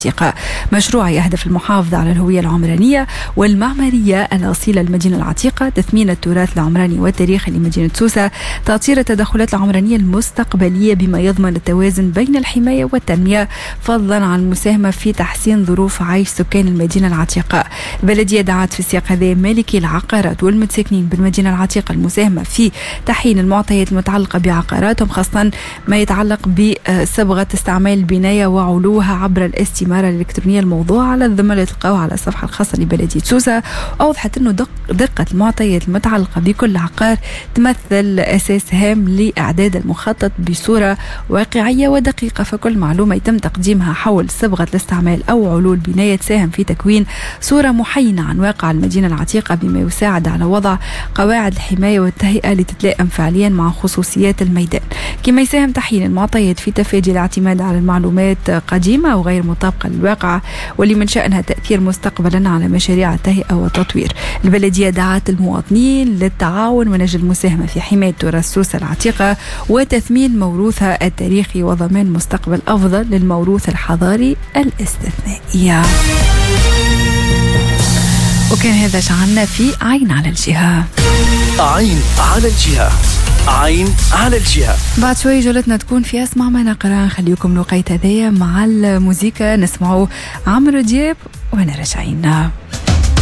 العتيقة. مشروع يهدف المحافظة على الهوية العمرانية والمعمارية الأصيلة للمدينة العتيقة، تثمين التراث العمراني والتاريخي لمدينة سوسة، تأطير التدخلات العمرانية المستقبلية بما يضمن التوازن بين الحماية والتنمية، فضلا عن المساهمة في تحسين ظروف عيش سكان المدينة العتيقة. البلدية دعت في السياق هذا مالكي العقارات والمتساكنين بالمدينة العتيقة المساهمة في تحيين المعطيات المتعلقة بعقاراتهم، خاصة ما يتعلق بصبغة استعمال البناية وعلوها عبر الاستمارة الإلكترونية الموضوعة على الذمة اللي تلقاوها على الصفحة الخاصة لبلدية سوسة. أوضحت أنه دقة المعطيات المتعلقة بكل عقار تمثل أساس هام لإعداد المخطط بصورة واقعية ودقيقة، فكل معلومة يتم تقديمها حول صبغة الاستعمال أو علو البناية تساهم في تكوين صورة محينة عن واقع المدينة العتيقة، بما يساعد على وضع قواعد الحماية والتهيئة لتتلائم فعليا مع خصوصيات الميدان. كما يساهم تحيين المعطيات في تفادي الاعتماد على المعلومات قديمة وغير مطابقة للواقع واللي من شأنها تأثير مستقبلا على مشاريع التهيئة والتطوير. البلدية دعت المواطنين للتعاون من أجل المساهمة في حماية تراث سوسة العتيقة وتثمين موروثها التاريخي وضمان مستقبل أفضل للموروث الحضاري الاستثنائي. وكان هذا شعلنا في عين على الجهة. عين على الجهة، عين على الجهة. بعد شوي جولتنا تكون في اسمع ما نقرا. نخليكم الوقيت هذايا مع الموزيكا، نسمعوا عمرو دياب وانا راجعين.